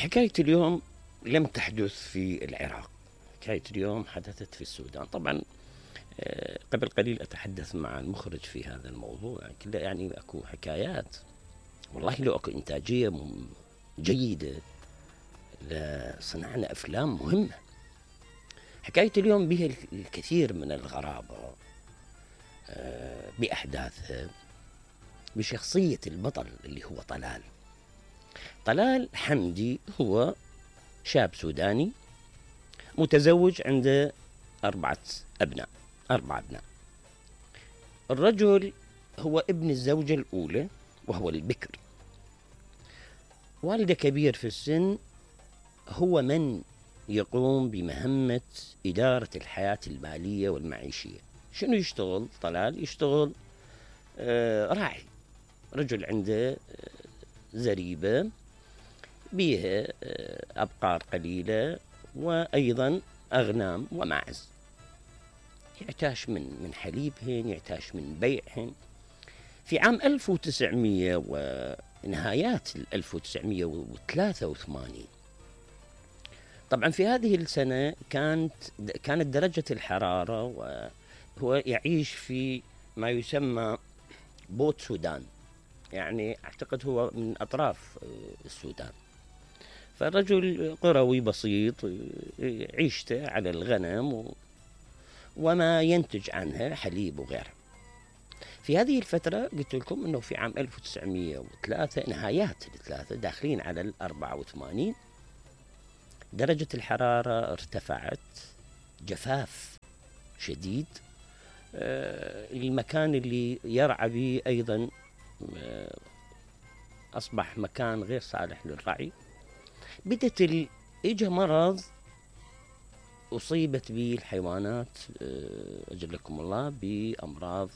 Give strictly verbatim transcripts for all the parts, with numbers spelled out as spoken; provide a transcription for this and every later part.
حكاية اليوم لم تحدث في العراق، حكاية اليوم حدثت في السودان. طبعا قبل قليل أتحدث مع المخرج في هذا الموضوع، كله يعني أكو حكايات والله لو أكو إنتاجية جيدة لصنعنا أفلام مهمة. حكاية اليوم بها الكثير من الغرابة بأحداثها، بشخصية البطل اللي هو طلال. طلال حمدي هو شاب سوداني متزوج، عنده أربعة أبناء أربع أبناء. الرجل هو ابن الزوجة الأولى وهو البكر. والده كبير في السن، هو من يقوم بمهمة إدارة الحياة المالية والمعيشية. شنو يشتغل طلال؟ يشتغل آه راعي، رجل عنده آه زريبة بيها آه أبقار قليلة وأيضا أغنام وماعز، يعتاش من من حليبهن، يعتاش من بيعهن. في عام ألف وتسعمية ونهايات ألف وتسعمية وثلاثة وثمانين، طبعا في هذه السنة كانت كانت درجة الحرارة، وهو يعيش في ما يسمى بوت سودان، يعني أعتقد هو من أطراف السودان. فالرجل قروي بسيط، عيشته على الغنم وما ينتج عنها حليب وغيره. في هذه الفترة قلت لكم أنه في عام ألف وتسعمية وثلاثة، نهايات الثلاثة داخلين على الأربعة وثمانين، درجة الحرارة ارتفعت، جفاف شديد، المكان اللي يرعى به أيضا أصبح مكان غير صالح للرعي. بدت ال... إجا مرض أصيبت به الحيوانات أجلكم الله بأمراض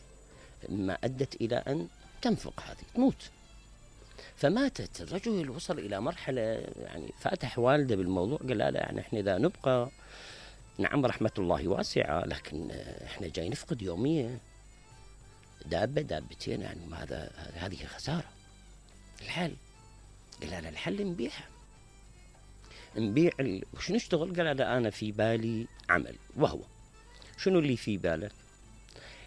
ما أدت إلى أن تنفق، هذه تموت. فماتت. الرجل وصل إلى مرحلة يعني فاتح والده بالموضوع، قال لا يعني إحنا إذا نبقى، نعم رحمة الله واسعة، لكن إحنا جاي نفقد يوميا دابة دابتين، يعني هذا هذه خسارة. الحل قال لا الحل نبيعها، نبيع ال... وش نشتغل؟ قال لا أنا في بالي عمل. وهو شنو اللي في باله؟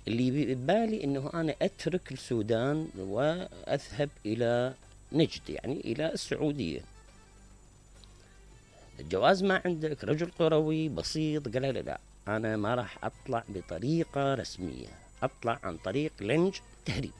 اللي ببالي إنه أنا أترك السودان وأذهب إلى نجد، يعني إلى السعودية. الجواز ما عندك، رجل قروي بسيط. قال لا لا أنا ما راح أطلع بطريقة رسمية، أطلع عن طريق لنج تهريب.